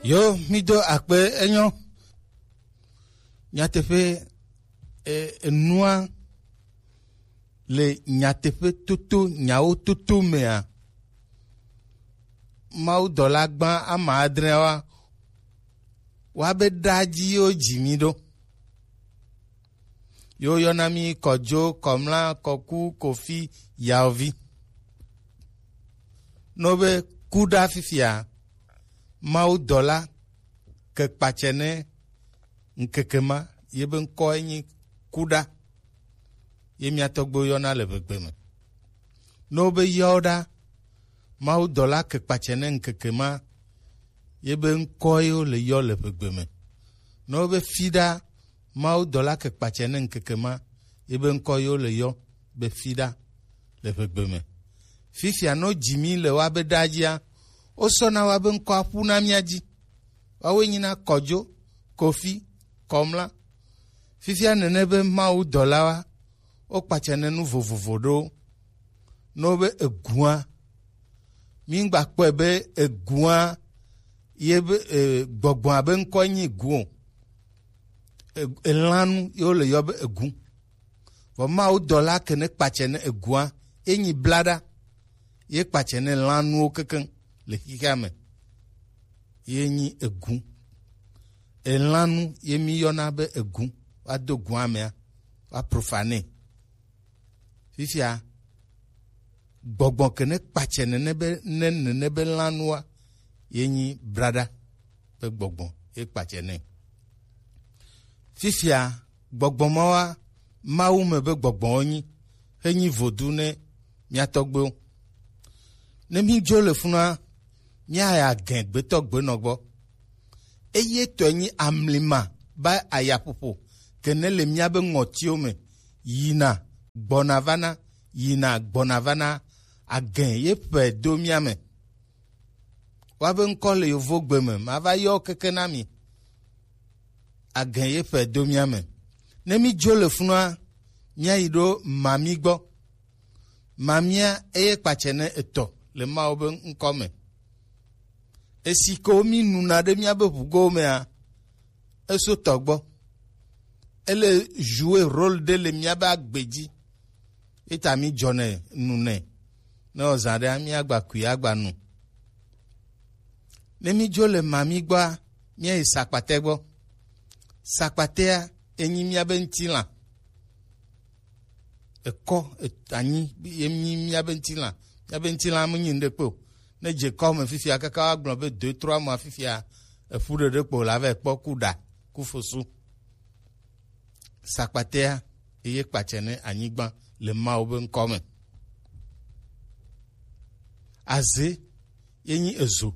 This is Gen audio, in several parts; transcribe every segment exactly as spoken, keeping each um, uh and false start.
Yo, mi do akpe, enyo. Nyateƒe, e, enua le nyateƒe toto, nyawo toto mea, mawudɔla gbã ama adreawa, wa be ɖa dzi yo dzi mi ɖo. Yo yɔna mi Kɔdzo, Kɔmla, Kɔku, Kofi, Yaovi. No be kuɖa fifia, mawudɔla ke kpatsɛ ne ŋkeke ma, ye be ŋkɔ enyi kuɖa. Ye mia tɔgbewo yɔna le Eʋegbe me. Ne wobe yɔwo ɖa, mawudɔla ke kpatsɛ ne ŋkeke ma, ye be ŋkɔ ye wole yɔ le Eʋegbe me. Ne wobe fiɖa, mawudɔla ke kpatsɛ ne ŋkeke ma, ye be ŋkɔ ye wole yɔ be fiɖa le Eʋegbe me. Fifia, ne wodzi mi le woabe ɖa dzia, wosɔna woabe ŋkɔa ƒu na mia dzi. Woawoe nyina Kɔdzo, Kofi, Kɔmla. Fifia nene be mawudɔlawoa, wokpatsɛ ne nu vovovo ɖewo. Ne wobe egua, mi ŋgba kpɔe be egua ye be, e, gbɔgbɔa be ŋkɔ nyi egu o. E, elãnu ye wole yɔ be egu. Vɔ mawudɔla ke ne kpatsɛ ne egua, ye nyi blaɖa, ye kpatsɛ ne lãnuwo kekeŋ le xixea me. Ye nyi egu. Elãnu ye mi yɔna be egu, woado gua mea, woaprofane. Fifia, gbɔgbɔ ke ne kpatsɛ nene be, ne nene be lãnua, ye nyi braɖa be gbɔgbɔ ye kpatsɛ nɛ. Fifia, gbɔgbɔ mawoa, Mawu me be gbɔgbɔwo nyi, he nyi vodu ne mia tɔgbewo. Ne mi dzo le funua, mia ya gɛn gbetɔ gbenɔ gbɔ. Eye tɔe nyi amlima ba ayaƒoƒo ke ne le míabe ŋɔtiwo me yina gbɔna vana, yina gbɔna vana, agɛ ye ƒe do mía me. Woabe ŋkɔ le yovogbe me, mava yɔ keke na mi. Agɛ ye ƒe do mía me. Ne mi dzo le funua, míayi ɖo mami gbɔ. Mamia eye kpatsɛ ne etɔ le Mawu be ŋkɔ me. Esi ko mi nuna ɖe míabe ʋugowo mea, eso tɔ gbɔ. Ele jouer rôle ɖe le míabe agbe dzi. Eta mi dzɔnɛ nunɛ. Ne ɔzã ɖe mi agba kui agba nu. Ne mi dzo le mami gbɔa, míayi sakpatɛ gbɔ. Sakpatɛa enyi míabe ŋutilã. Ekɔ, et-, anyi, ye mi, míabe ŋutilã. Míabe ŋutilã menyi ŋɖekpe o. Ne dze kɔ me fifia, kaka woagblɔ be deux, trois mois fifia, eƒu ɖeɖe kpo la va kpɔ ku ɖa, ku fosu. Sakpatea, eye kpatsɛ ne anyigba le Mawu be ŋkɔ me. Aze, ye nyi ezo.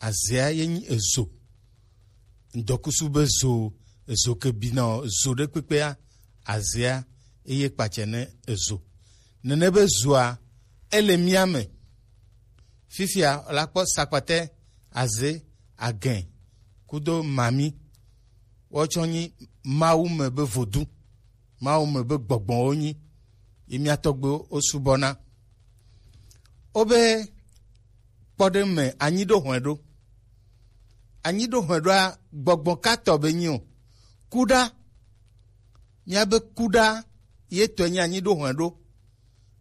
Azea ye nyi ezo. Ŋdɔkusu be zo, ezo ke bina o, zo ɖe kpekpea, azea eye kpatsɛ ne ezo. Nene be zoa, ele mía me. Fifia la kpɔ sakpatɛ, aze, agɛ, kudo mami. Wotsɔ nyi Mawu me be vodu. Mawu me be gbɔgbɔwo nyi, ye mía tɔgbewo wosubɔna. Wobe kpɔɖeŋu me anyi ɖo hɔ̃e ɖo. Anyi ɖo hɔ̃e ɖoa, gbɔgbɔ ka tɔ be nyi o. Kuɖa, míabe kuɖa ye tɔe nyi anyi ɖo hɔ̃e ɖo.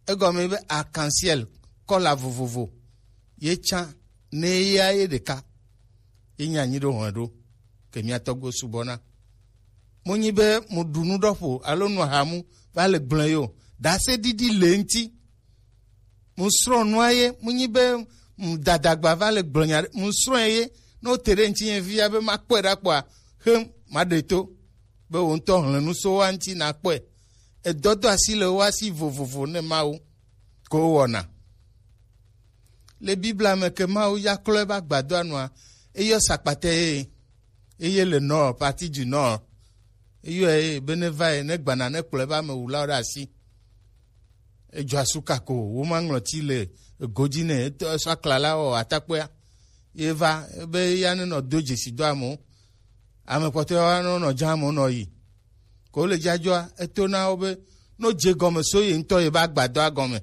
Egɔme be arc-en-ciel, kɔla vovovo, ye tsã ne ya ye ɖeka. Ye nyi anyi ɖo hɔ̃e ɖo ke mía tɔgbewo subɔna. Mu nyi be mu ɖu nu ɖɔ ƒo alo nu ahamu va le gblẽ yo. Dase ɖiɖi le ŋuti. Mu srɔ̃ nua ye, mu nyi be mu dadagba va le gblẽ nya ɖe, mu srɔ̃ ye, ne wote ɖe ŋuti nye via be makpɔe ɖa kpɔa, xe maɖe to be wò ŋutɔ hlẽ nu so wa ŋuti nakpɔe. Edɔdɔ asi le wo asi vovovo ne Mawu ko wɔna. Le Biblia me ke Mawu ya klɔ eƒe agbadɔa nua, eyɔ sakpatɛ ye, eye le nord, partie du nord, eyɔe ye be ne va ye, ne gbana, ne kplɔ eƒe amewulawo ɖe asi. Edzɔ asu kako, wo ma ŋlɔti le ego dzi ne etɔ esɔ aklala wɔ atakpɔea. Ye va be ya ne nɔ do dzesi do amewo. Ame kpɔtɔewo anɔ nɔ dzã amewo nɔ yi. Ko le dzadzɔa, eto na wo be no dze gɔme so ye ŋutɔ ye be agbadɔa gɔme.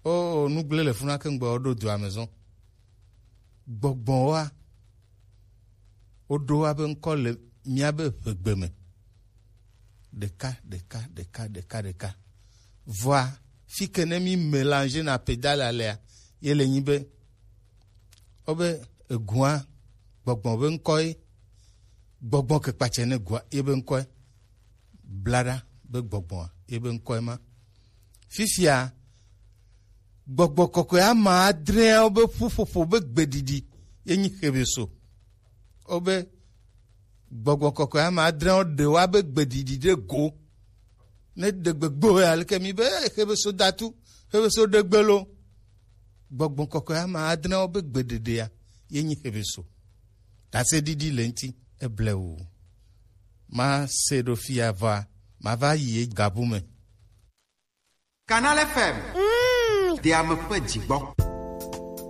O, nugble le funa ke ŋgbe wo ɖo dua me zɔn. Gbɔgbɔn wa, woɖo wa be ŋkɔ le míabe ʋegbe me. Ɖeka, ɖeka, ɖeka, ɖeka, ɖeka. Vɔa, fi ke ne mi mélanger na pédale alea, ye le nyi be, wobe egua, gbɔgbɔn be ŋkɔ ye, gbɔgbɔn ke kpatsɛ ne gua, ye be ŋkɔ ye. Blaɖa be gbɔgbɔa, ye be ŋkɔe ma. Fifia, gbɔgbɔ kɔkɔe ama adreawo be ƒuƒoƒo be gbeɖiɖi ye nyi Xebeso. Wobe gbɔgbɔ kɔkɔe ama adreawo ɖewoa be gbeɖiɖi ɖe go. Ne ɖe gbegbe o ya, leke mi be, "Eh, Xebeso datu, Xebeso ɖegbe lo." Gbɔgbɔ kɔkɔe ama adreawo be gbeɖeɖea ye nyi Xebeso. Ɖaseɖiɖi le ŋti, eble o. Ma se ɖo fia vɔa, ma va yi ye gabu me. Canal F M. Mm. Deame ƒe dzigbɔ.